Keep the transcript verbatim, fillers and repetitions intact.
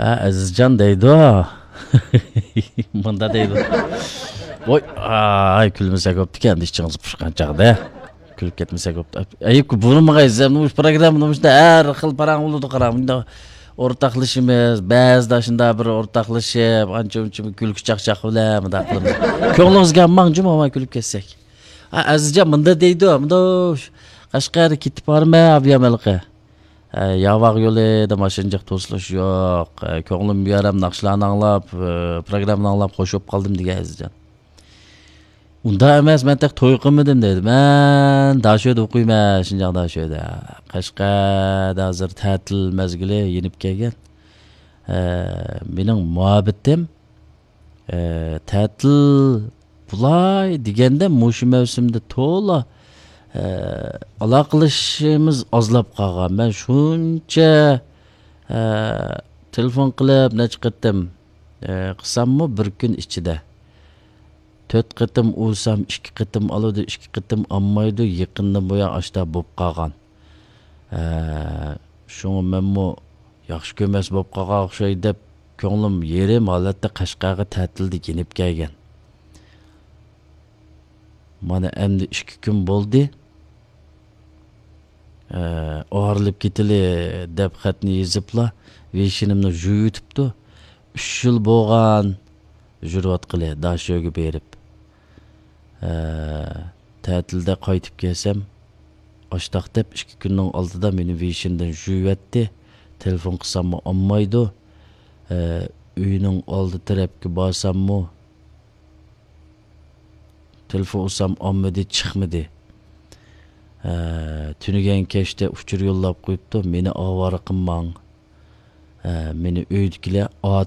ھە، ئەزىزجان دەيدۇ. مۇندا دەيدۇ. ۋاي، ئاي، كۈلمىسەك بوپتىكەن، ئىچىڭىز پۇشقان چاغدا. كۈلۈپ كەتمىسەك بوپتۇ. ئەي، بۇرۇنمىغاي، سىز مۇشۇ پروگراممىنى مۇشۇنداق ھەر خىل پاراڭ بولىدۇ، قاراڭ. مۇنداق ئورتاقلىشىمىز، بەزىدە شۇنداق بىر ئورتاقلىشىپ، ئانچە-مۇنچە كۈلكە چاقچاق بىلەن مۇنداق قىلىمىز. كۆڭلىڭىزگە ئالماڭ، جۇمۇ، كۈلۈپ كەتسەك. ھە، ئەزىزجان مۇندا دەيدۇ، مۇندا قەشقەرگە كېتىپ بارىمەن، ئابيامەلقە. ئە، ياۋاق يولىدا ماشىنىچە توسۇلۇش يوق. ئە، كۆڭلۈم بۇ يەر ھەم ناخشىلارنى ئاڭلاپ، ئە، پروگراممىنى ئاڭلاپ خوش بولۇپ قالدىم دېگەن ئەزىزجان. ئۇنداق ئەمەس، مەن تېخى توي قىلمىدىم دېدى. مەن داشۆدە ئوقۇيمەن، شىنجاڭ داشۆدە. قەشقەردە ھازىر تەتىل مەزگىلى يېنىپ كەلگەن. ئە، مېنىڭ مۇھەببىتىم ئە، تەتىل بۇلاي دېگەندە مۇشۇ مەۋسۇمدا تولا، ئە، ئالاقىلىشىشىمىز ئازلاپ قالغان. مەن شۇنچە، ئە، تېلېفون قىلىپ نەچچە قېتىم، ئە، قىلساممۇ بىر كۈن ئىچىدە تۆت قېتىم ئۇرسام، ئىككى قېتىم ئالىدۇ، ئىككى قېتىم ئالمايدۇ. يېقىندىن بۇيان ئاشتا بوپ قالغان. ئە، شۇڭا مەنمۇ ياخشى كۆرمەس بوپ قالغان ئوخشايدۇ دەپ، كۆڭلۈم يېرىم ھالەتتە قەشقەرگە تەتىلدە يېنىپ كەلگەن. مانا ئەمدى ئىككى كۈن بولدى. ئە، ئايرىلىپ كېتىلى دەپ خەتنى يېزىپلا، ۋېيشىنىمنى يۇيۇۋېتىپتۇ. ئۈچ يىل بولغان يۈرۈۋاتقىلى داشۆگە بېرىپ. ئە، تەتىلدە قايتىپ كەلسەم، ئاشتاق دەپ ئىككى كۈننىڭ ئالدىدا مېنى ۋېيشىندىن يۇيۇۋەتتى. تېلېفون قىلساممۇ ئالمايدۇ. ئە، ئۆينىڭ ئالدى تەرەپكە بارساممۇ، تېلېفون ئۇرسام ئالمىدى، چىقمىدى. ئە، تۈنۈگۈن كەچتە ئۇچۇر يوللاپ قويۇپتۇ، مېنى ئاۋارە قىلماڭ. ئە، مېنى ئۆيدىكىلەر